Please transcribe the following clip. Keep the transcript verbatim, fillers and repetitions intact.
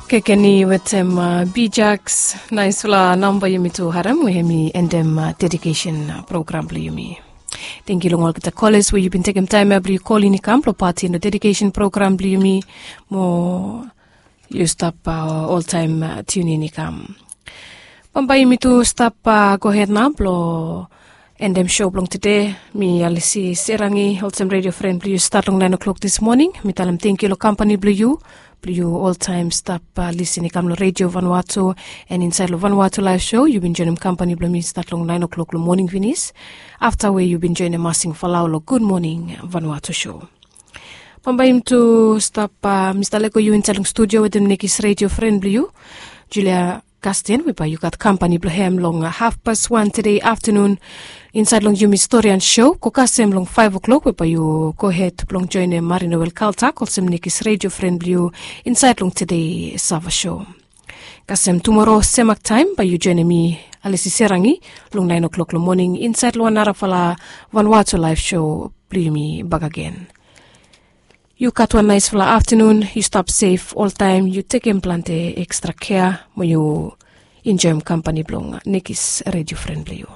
Kekeni wetem Bijaks, naispela namba yumi tu harem we hemi endem dedikesen program blong yumi. Tenkyu long olgeta koles we yu bin tekem taem ya blong yu kolin i kam blong pati long dedikesen program blong yumi. Mo yu stap oltaem tiunin i kam. Bambae yumi tu stap gohed nao blong endem sou blong tude. Mi alisi serangi olsem redio fren blong yu stat long naen o'klok dis moning. Mi talem tenkyu long kampani blong yu blong yu oltaem stap lisin i kam long redio vanua tu. An insaed long vanua tu laef sou yu bin joenem kampani blong mi stat long naen o'klok long moning finis, afta we yu bin joenem masing falau long gud moning vanua tu sou. Bambae yumi tu stap mista lego yu insaed long studio wetem nekis redio fren blong yu, julia kasten we bae yu gat kampani blong hem long hafpas wan tude aftanun. Insaed long yumi storian sou go kasem long faef o'klok we bae yu gohed blong joenem marino welkaltak olsem nekis redio fren blong yu insaed long tude sava sou. Kasem tumoro semak taem bae yu joenem mi alisi serangi long naen o'klok long moning insaed long wan narafala vanua tu laef sou blong yumi bakagen. Yu gat wan naesfala aftanun, yu stap sef oltaem, yu tekem plante ekstra kea mo yu enjoem kampani blong nekis redio fren blong yu.